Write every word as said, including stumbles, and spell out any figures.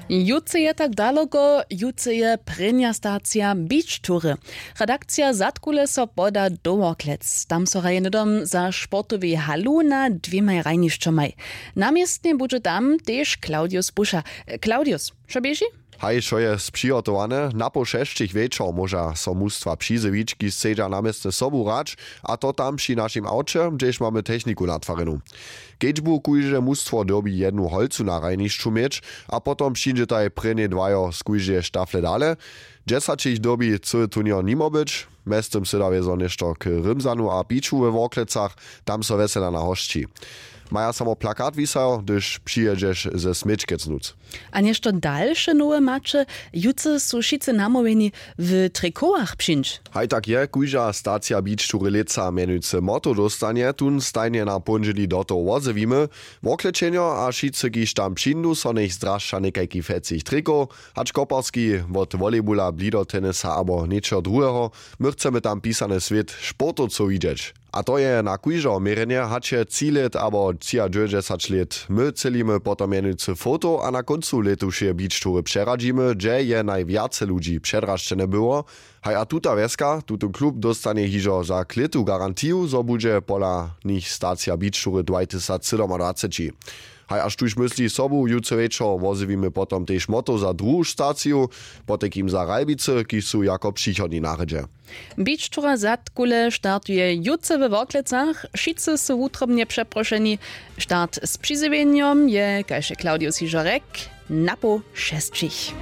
Jutře je tak daloko, jutře je prěnja stacija beach toury. Redakcija zadkule so poda do worklec, tam so hraje hnydom za sportowej halu na dwěmaj hrajnišćomaj. Na městnje budźe tam tež claudius buša. Claudius, što běži? Haj, wšo je přihotowane. Na poł šesćich wječor móža so mustwa přizjewić, kiž chcedźa na městnje sobu hrać, a to tam při našim awće, hdźež mamy techniku natwarjenu. Kedźbu kóžde mustwo dyrbi jednu holcu na hrajnišću měć, a potom přińdźetaj prěnjej dwajo z kóždeje štafle dale. Dźesać jich dyrbi cyły turněr nimo być. Mjeztym sydawje zo něšto k rymzanu a piću we worklecach. Tam so wjesela na hosći. Maja samo plakat wisajo, hdyž přijědźeš ze směčkec nóc. A něšto dalše nowe maće? Jutře su wšitcy namołwjeni w trikowach přińć. Haj, tak je, kóžda stacija beach toury lětsa mjenujcy motto dóstanje, tón stajnje na póndźěli do toho wozjewimy. Worklećenjo a wšitcy, kiž tam přińdu, so njech zdrašća někajki fecich trikow, hač koparski, wot volejbula, blido tenisa abo něčeho druheho. My chcemy tam pisany swět sportowcow widźeć. A to je na kóždeho měrjenje, hač je tři lět abo třiadźewjećdźesać lět. My třělimy potom mjenujcy foto a na kóncu lětušeje beach toury přeradźimy, hdźe je najwjace ludźi předrašćene było. Haj, a tuta wjeska, tutón klub dóstanje hižo za klětu garantiju, zo budźe pola nich stacija beach toury dwatysacsydomadwaceći. Haj, a štóž mysli sobu jutře wječor, wozjewimy potom tež motto za druhu staciju, potajkim za Ralbicy, kiž su jako přichodni na rjedźe. Beach toura zadkule startuje jutře we worklecach. Wšitcy su wutrobnje přeprošeni. Start z přizjewjenjom je, kaž je claudius hižo rjekł, na poł šesćich.